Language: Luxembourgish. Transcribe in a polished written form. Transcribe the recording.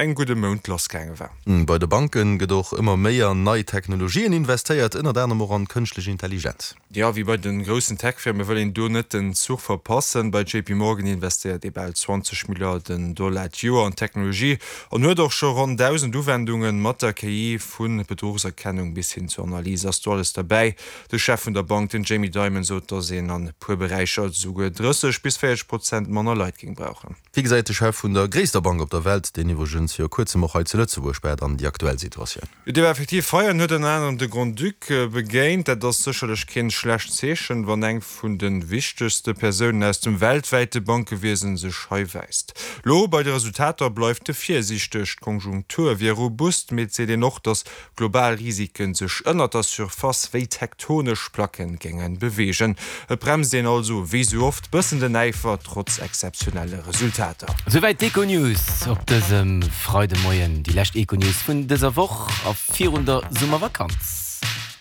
engem gudde Mount lassgaange war. Bei de Banke gëtt och ëmmer méi an nei Technologien investéiert, ënnert anerem och an d'kënschtlech Intelligenz. Jo, wéi bei de groussen Tech-Firme wëll een do net den Zuch verpassen. Bei JP Morgan investéiert ee bal 20 Milliarden Dollar d'Joer an d'Technologie an huet och scho ronn 1.000 Uwendungen. Mat der KI, vu Bedruchserkennung bis hin zur Analys ass do alles derbäi. De Chef vun der Bank, den Jamie Dimon, sot, datt een an e puer Beräicher esouguer 30 bis 40 Prozent manner Leit géing brauchen. Wéi gesäit de Chef vun der gréisster Bank op der Welt, deen iwwregens viru kuerzem och hei zu Lëtzebuerg war, dann déi aktuell Situatioun? Jo, dee war effektiv hei an huet ënner anerem de Grand-Duc begéint. Dat ass sécherlech keen schlecht Zeechen, wann eng vun de wichtegste Persounen aus dem weltwäite Bankewiesen sech hei wäisst. Lo bei de Resultater bleift e virsiichteg. D'Konjunktur wier robust, mee et seet een och, datt Global Risiken sech ënnert der Surface wéi tektonesch Placken géinge beweegen. Et bremst een also, wéi sou oft, bëssen den Äifer, trotz exzeptionelle Resultater. Souwäit d'Econews op dësem Freidemoien. Déi lescht Econews vun dëser Woch a virun der Summervakanz.